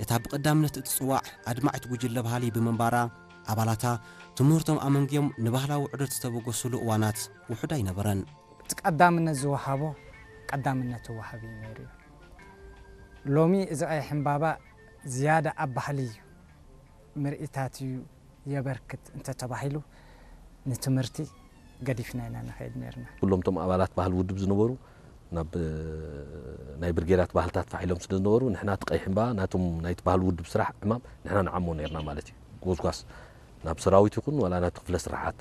እታ ብቐዳምነት እትጽዋዕ ኣድማዒት ጉጅለ ባህሊ ብምንባራ፣ ኣባላታ ትምህርቶም ኣመንግዮም ንባህላዊ ዑደት ዝተበገሱሉ እዋናት ውሑድ ኣይነበረን። እቲ ቀዳምነት ዝወሃቦ ቀዳምነት ይወሃብ እዩ ነይሩ እዩ። ሎሚ እዚ ቀይሕ ዕምባባ ዝያዳ ኣብ ባህሊ እዩ ምርኢታት እዩ የበርክት እንተተባሂሉ ንትምህርቲ ገዲፍና ኢና ንኸይድ ነርና። ኩሎም እቶም ኣባላት ባህሊ ውድብ ዝነበሩ ናብ ናይ ብርጌዳት ባህልታት ፋሕ ኢሎም ስለ ዝነበሩ ንሕና እቲ ቀይሕ ዕምባባ ናቶም ናይቲ ባህሊ ውድብ ስራሕ ዕማም ንሕና ንዓሞ ነርና ማለት እዩ። ጎስጓስ ናብ ሰራዊት ይኹን ዋላ ናብቲ ክፍለ ስራሓት